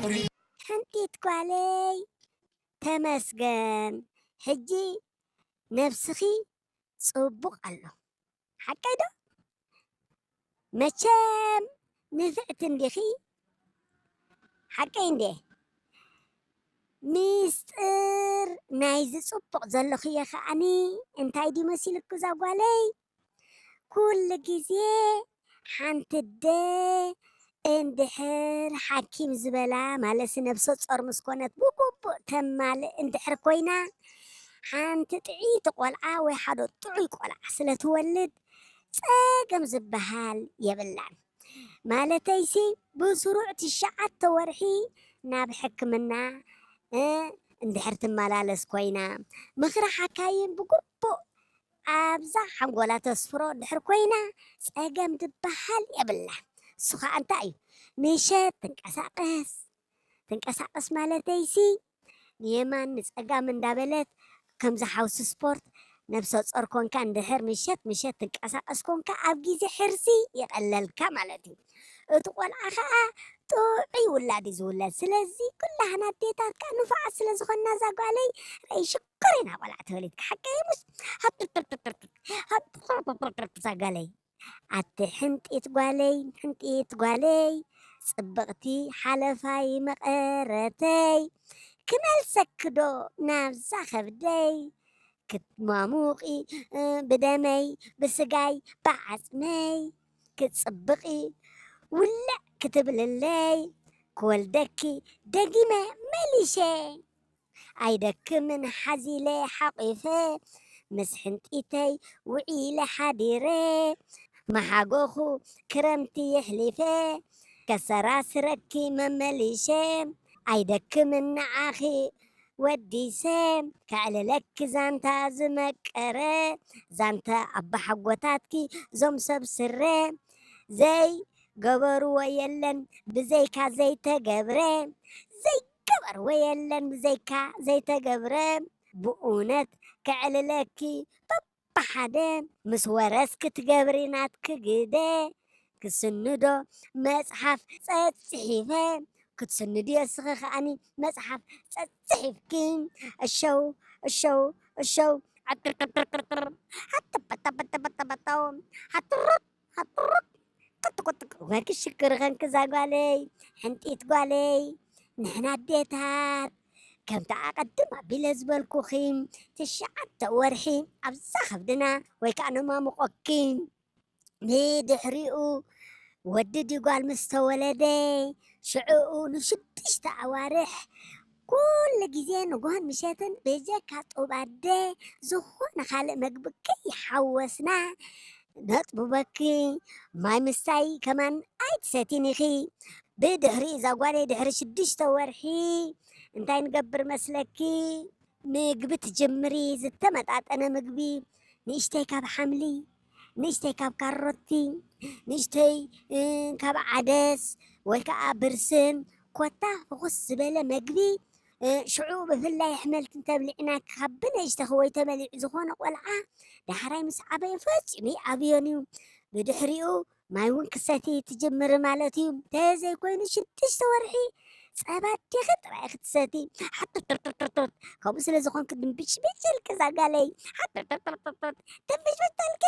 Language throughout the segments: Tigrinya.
ሕንጢት ጓለይ፣ ተመስገን፣ ሕጂ ነብስኺ ጽቡቕ ኣሎ። ሓቀይ ዶ? መቸም ንፍዕቲ እንዲኺ። ሓቀይ እንዴ? ሚስጥር ናይዚ ጽቡቕ ዘለኽዮ ከኣኒ እንታይ ድዩ መሲልኩ እዛ ጓለይ? ኩሉ ግዜ ሓንቲ ኣደ እንድሕር ሓኪም ዝበላ፣ ማለትሲ ነብሰ ጾር ምስ ኮነት ብግቡእ ተማልእ እንድሕር ኮይና፣ ሓንቲ ጥዕይቲ ቆልዓ ወይ ሓደ ጥዑይ ቆልዓ ስለ ትወልድ ጸገም ዝበሃል የብላን። ማለተይሲ ብስሩዕ ትሽዓተ ወርሒ ናብ ሕክምና፣ እ፣ እንድሕር ትመላለስ ኮይና፣ ምኽሪ ሓካይም ብግቡእ ኣብዛ ሓንጎላ ተስፍሮ እንድሕር ኮይና፣ ጸገም ዝበሃል የብላን። እሱ ኸኣ እንታይ እዩ? ምሸት ትንቀሳቐስ። ትንቀሳቐስ ማለተይሲ ንየማን ንጸጋም እንዳበለት፣ ከምዚ ሓውሲ ስፖርት፣ ነብሰ ጾር ኮንካ እንድሕር ምሸት ምሸት ትንቀሳቐስ ኮንካ፣ ኣብ ግዜ ሕርሲ ይቐለልካ ማለት እዩ። እቲ ቆልዓ ኸኣ ጥዑይ ውላድ እዩ ዝውለድ። ስለዚ ኩላህና ኣዴታት ከኣ ንፉዓት ስለ ዝኾንና፣ እዛ ጓለይ ረኣይ ሽኮር ኢና ቆልዓ ተወሊድካ። ሓቀይ ሙስ፣ ሃብ፣ ሃብ፣ እዛ ጓለይ። ኣቲ ሕንጢት ጓለይ፣ ሕንጢት ጓለይ፣ ጽብቕቲ ሓለፋይ መቐረተይ፣ ክመልሰኪ ዶ ናብዛ ከብደይ? ክትማሙቒ፣ እ፣ ብደመይ፣ ብስጋይ፣ ብዓጽመይ፣ ክትጽብቒ፣ ውልዕ ክትብልለይ፣ ክወልደኪ ደጊመ መሊሸ። ኣይደክምን ሓዚለ ሓቒፈ፣ ምስ ሕንጢተይ ውዒለ ሓዲረ፣ መሓጎኹ ክረምቲ የሕሊፈ፣ ከሰራስረኪ መመሊሸ። ኣይደክምን ንዓኺ ወዲሰ፣ ከዕልለኪ ዛንታ ዝመቀረ፣ ዛንታ ኣባሓጎታትኪ ዞም ሰብ ስረ። ዘይገበርዎ የለን ብዘይካ ዘይተገብረ፣ ዘይገበርዎ የለን ብዘይካ ዘይተገብረ። ብእውነት ከዕልለኪ በብሓደ፣ ምስ ወረስኪ ትገብሪ ናትኪ ግደ። ክስንዶ መጽሓፍ ጸጽሒፈ፣ ክትስንድዮ እስኺ ከኣኒ መጽሓፍ ጸጽሒፍኪ። እሸው፣ እሸው፣ እሸው፣ ዓጥርጥርጥርጥር፣ ሃጥበጠበጠበጠበጠው፣ ሃጥሩጥ፣ ሃጥሩጥ፣ ቅጥቅጥቅ። ወኪ ሽክር ኸንኪ እዛ ጓለይ፣ ሕንጢት ጓለይ። ንሕና ኣዴታት፣ ከምቲ ኣቐድም ኣቢለ ዝበልኩኺ፣ ትሽዓተ ወርሒ ኣብዛ ከብድና ወይ ከኣ ነማሙቆኪ። ብድሕሪኡ ወዲ ድዩ ጓል ምስ ተወለደ፣ ሽዑኡ ንሽዱሽተ ኣዋርሕ ኩሉ ግዜ ንግሆን ምሸትን ብጀካ ጡብ ኣደ ዝኾነ ካልእ መግቢ ከይሓወስና ነጥብበኪ። ማይ ምስታይ ከማን ኣይትሰቲን ኢኺ። ብድሕሪ እዛ ጓለይ ድሕሪ ሽዱሽተ ወርሒ እንታይ ንገብር መስለኪ? ምግቢ ትጅምሪ፣ ዝተመጣጠነ ምግቢ፣ ንእሽተይ ካብ ሓምሊ፣ ንእሽተይ ካብ ካሮቲ፣ ንእሽተይ፣ እ፣ ካብ ዓደስ ወይ ከኣ ብርስን፣ ኮታ ፍኹስ ዝበለ መግቢ፣ እ፣ ሽዑ ብፍላይ ኣሕምልቲ እንተብሊዕና፣ ካብ ብንእሽተኺ ወይ ተበሊዑ ዝኾነ ቆልዓ ዳሕራይ ምስ ዓበየ ፈጺሙ ይኣብዮን እዩ። ብድሕሪኡ ማይ እውን ክሰቲ ትጅምሪ ማለት እዩ። ተዘይኮይኑ ሽዱሽተ ወርሒ ጸባ ኣዴኺ ጥራይ ክትሰቲ። ሓጥርጥርጥርጥርጥር። ከምኡ ስለ ዝኾንኪ ድንብጭብጭ ኢልኪ እዛ ጓለይ። ሓጥርጥርጥርጥርጥር። ድንብጭብጭ ኢልኪ።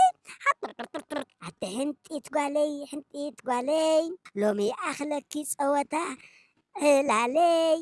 ሓጥርጥርጥርጥር። ኣቲ ሕንጢት ጓለይ፣ ሕንጢት ጓለይ። ሎሚ ይኣኽለኪ ጸወታ ዕላለይ።